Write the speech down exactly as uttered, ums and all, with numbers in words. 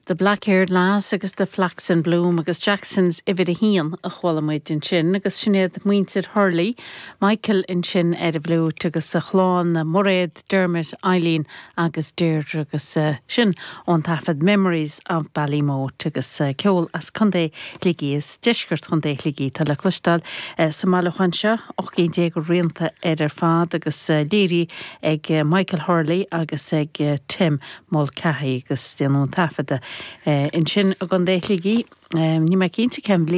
The Black-Haired Lass agus The Flax in Bloom agus Jackson's uimhir a haon a chuala muid ansin agus sin iad muintir Hurley, Michael ansin ar an bhfliúit agus a chlann Mairéad, Dermot, Eileen agus Deirdre agus uh, sin ón taifead Memories of Ballymote agus uh, ceol as Contae Shligigh is deisceart Chontae Shligigh tá le cloisteáil uh, sa mbailiúchán seo ocht gcinn déag rianta ar ar fad agus uh, léirithe ag uh, Michael Hurley agus ag uh, Tim Mulcahy agus déanadh an taifead uh, ansin i gContae Shligigh um, ní mé cinnte cén bhliain